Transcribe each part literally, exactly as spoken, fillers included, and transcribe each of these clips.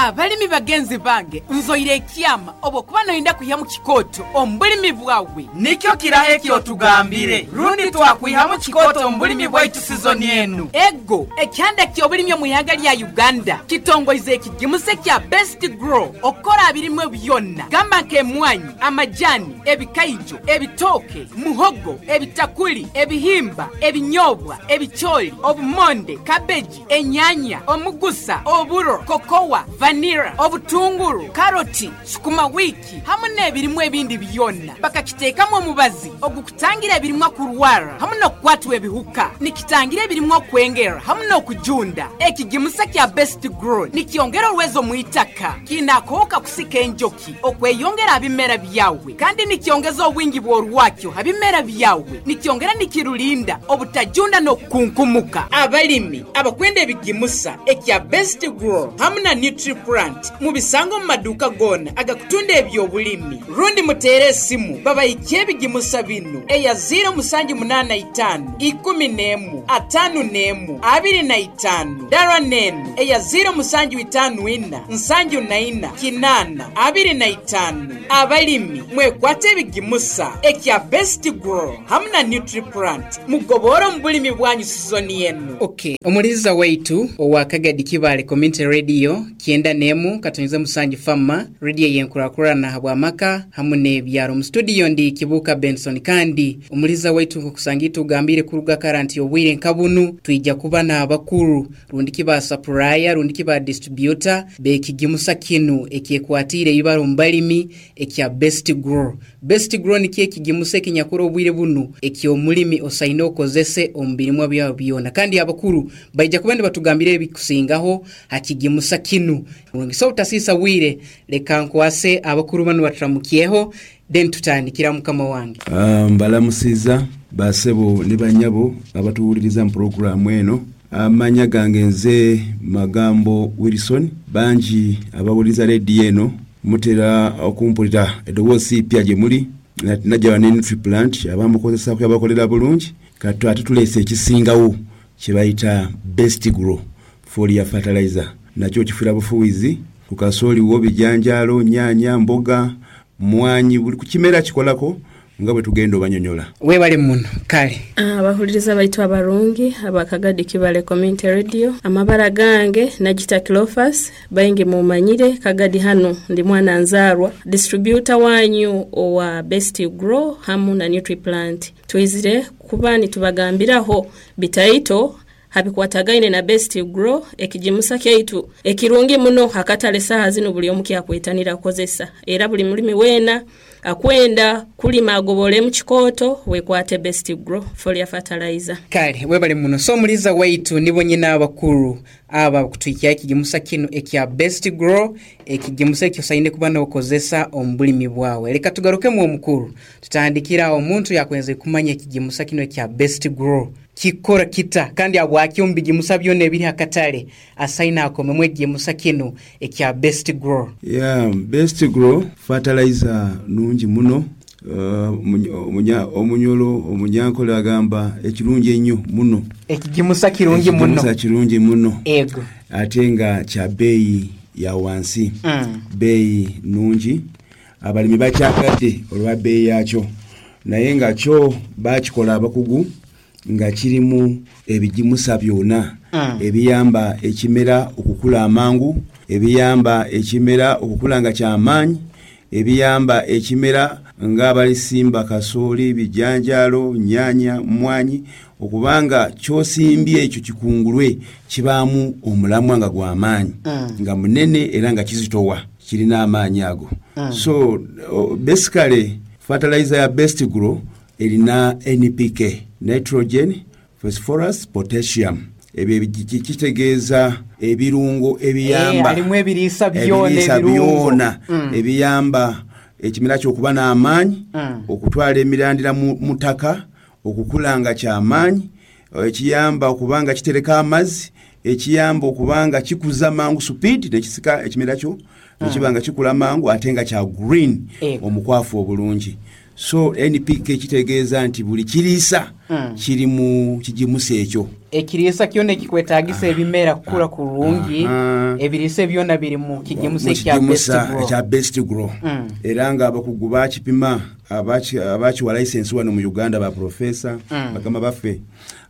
Abalimi bagenzi bange, nzoire ekyama obwokuba noyenda kwihamu kikooto omu bulimi bwawe. Nikyo kiraho ekyotugambire rundi twakwihamu kikooto omu bulimi bwaitu sizoni enu. Ego, ekyanda ky'obulimi omu ihanga lya Uganda kitongoize ekigimusa ekya Best Grow okukora abirimwe byona gamba nk'emwanyi, amajani, ebikaijo, ebitooke, muhogo, ebitakuli, ebihimba, ebinyobwa, ebicooli, obumonde, kabeji, enyanya, omugusa, oburo, kokowa, vanira, obutunguru, karoti, sukuma wiki hamwe n'ebirimu ebindi byona. Bakakiteekamu omubazi ogukutangira ebirimwa kurwara hamwe n'okukwatwa ebihuka. Nikitangira ebirimwa okwengera hamwe n'okujunda. Ekigimusa kya Best Grow nikyongera orwezo mu itaka, kiine akooka kusika enjoki okweyongera abimera byawe, kandi nikyongeza obwingi bw'orwakyo abimera byawe, nikyongera nikirulinda obutajunda n'okukunkumuka. Abalimi abakwenda ebigimusa ekya Best Grow hamwe na Nutriplant mubisanga omu maduuka goona agakutunda ebyobulimi, rundi muteere esimu babaikye ebigimusa binu eya ziro musanju munaana itaanu ikumi n'emu ataano n'emu abiri na itaanu, dara n'enu eya ziro musanju itaanu ina nsanju na ina kinaana abiri na itaanu. Abalimi mwekwate ebigimusa ekya Best Grow hamwe na Nutriplant, mugobore omu bulimi bwanyu sizoni enu. Okay, omuliza waitu owa Kagadi Kibaale Community Radio kyenda n'emu katonyeze musanju Fama Radio yenkurakurana habwamaka hamwe n'ebyaro. Mu studio ndi Kibuka Benson, kandi omuliza waitu nkokusanga tugambire kuruga karanti obwire nkabunu twija kuba n'abakuru rundi kiba supplier rundi kiba distributor bekigimusa kinu ekyekwatire ibaro mbalimi ekya Best Grow. Best Grow nikyo ekigimusa ekinyakura obwire bunu eky'omulimi osaine okozese omu birimwa byawe byona, kandi abakuru baija kuba nibatugambira ebikusingaho hakigimusa kinu. So utasisa bwire, leka nkwase abakuru banu batramukyeho, then tutandikira mukama wange. Uh, mbalamusiza basebo ne banyabo abatuwuliriza mu puroguramu eno. Amanya gange nze Magambo Wilson. Bangi abawuliriza rediyo eno mutera okumpulira eddoboozi ipya gye muli. Najja ne Nutriplant abamukozesa abakolera bulungi. Kati ate tuleese ekisingawo kye bayita Best Grow foliar fertilizer, nakyo kifuira bufuwizi ku kasooli wo, bijanjaalo, nyanya, mboga, mwanyi, buli ku kimera kikolako nga bwe tugenda obanyonyola. Webale muno. Kale abahuliriza baitu abarungi abakagadi Kibale Community Radio, amabara gange Nagita Clofas, baingi mumanyire Kagadi hano ndi mwana nzarwa, distributor wanyu owa Best Grow hamu na Nutriplant. Twizire kuba nitubagambiraho bitaito habikwatagaine na Best Grow, ekijimusa kyaitu ekirungi muno hakatale saha zino buli omu kyakwetanira kukozesa, era buli mulimi wena akwenda kulima agobole mu kikooto wekwate Best Grow foliar fertilizer. Kale webale muno. So muliza waitu nibo nyina abakuru aba kutwikia ekigimusa kinu ekya Best Grow, ekigimusa ekyo saine kuba n'okozesa omu bulimi bwawe. Leka tugarukemu omukuru, tutandikira omuntu yakwenze kumanya ekigimusa kino ekya Best Grow kikora kita, kandi abwaki omu bigimusa byona ebiri hakatale asaina akomemu ekigimusa kino ekya Best Grow. Yeah, Best Grow fertilizer nungi muno. Uh, omunyolo omunyankole agamba ekirungi ennyo muno, ekigimusa kirungi muno, ekigimusa kirungi muno ego, ate nga kya bbeeyi ya wansi, mm. bbeeyi nungi, abalimi bakyagadde olwa bbeeyi yakyo, naye nga kyo bakikola abakugu nga kirimu ebigimusa byonna, mm. ebiyamba ekimera okukula amangu, ebiyamba ekimera okukula nga kyamaanyi, ebiyamba ekimera ng'abalisimba kasooli, bijanjaalo, nnyaanya, mmwanyi, okubanga ky'osimbye ekyo kikungulwe kibaamu omulamwa nga gw'amaanyi, mm. nga munene era nga kizitowa, kirina amaanyi ago. mm. So basically fertilizer ya Best Grow erina N P K, nitrogen, phosphorus, potassium. Ebyo kitegeeza ebirungo ebiyamba, alimu ebiriisa byona, byona ebiyamba ekimera ky'okuba n'amaanyi, okutwala emirandira mu ttaka, okukula nga kyamaanyi, ekiyamba okuba nga kitereka amazzi, ekiyamba okuba nga kikuza mangu speed nekisika ekimera kyo nekiba nga kikula mangu ate nga kya green, omukwafu obulungi. So N P K kitegeeza nti buli kiriisa Mm. Kiri mu kigimusa ekyo. Ekiriisa kyona ekikwetagisa ebimera kukura kurungi. Aha. Ebiriisa byona biri mu kigimusa mu ekya Best kigimusa Grow. ekya Best Grow. Mm. Era nga abakugu bakipima, abaki- abakiwa license wano mu Uganda, ba profesa, Mm. bagamba baffe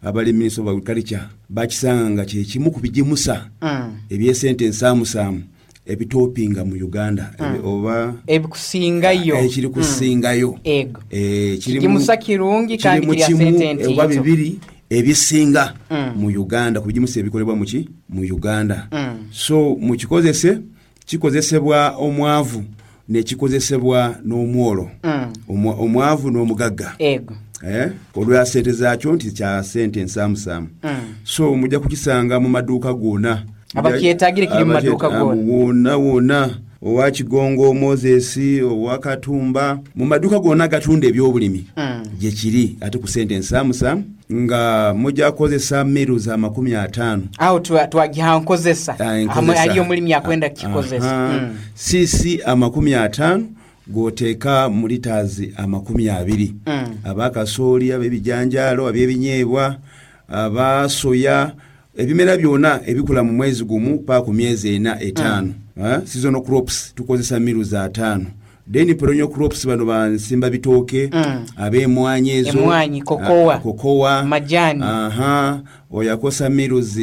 abali Ministry of Agriculture, bakisanga nga kyekimu ku bigimusa Mm. ebyesente ensaamusaamu ebitopinga mu Uganda. Ebi- oba ebikusingayo. Ekiri kusingayo. Ego. Eh, kiri mu- Kigimusa kirungi kandi kiri mu kirya kimu sente oba ntiito. bibiri ebisinga Mm. mu Uganda ku bigimusa ebikolebwa muki mu Uganda. Mm. So mukikozese, kikozesebwa omwavu nekikozesebwa n'omwolo. Mm. Omwa- omwavu n'omugagga. Ego. Eh, olwa sente zaakyo nti kya sente ensaamusaamu. Mm. So mujja kukisanga mu maduuka gonna. Abakyetagire kiri mu maduuka Abakyeta- gonna. Wonna wonna, owa Kigongo Moses, owa Katumba, mu maduuka gonna agatunda ebyobulimi Mm. gye kiri, ate ku sente ensaamusaamu, nga mujja kukozesa miru za makumi ataano. Awo twa- twagiha nkozesa. Ah, enkozesa. Hamwe haliyo omulimi akwenda kukikozesa. Aha. Mm. Cc amakumi ataano g'oteeka mu litaazi amakumi abiri. Mm. Abakasooli, ab'ebijanjaalo, ab'ebinyeebwa, abasoya, ebimera byonna ebikula mu mwezi gumu paka ku myezi ena etaano. Mm. Seasonal crops tukozesa miru za ataano. Then perennial crops, bano bansimba bitooke, Mm. ab'emwanyi ezo. Emwanyi, kokowa. Ah, kokowa. Majani. Aha, oyo akosa miruzi.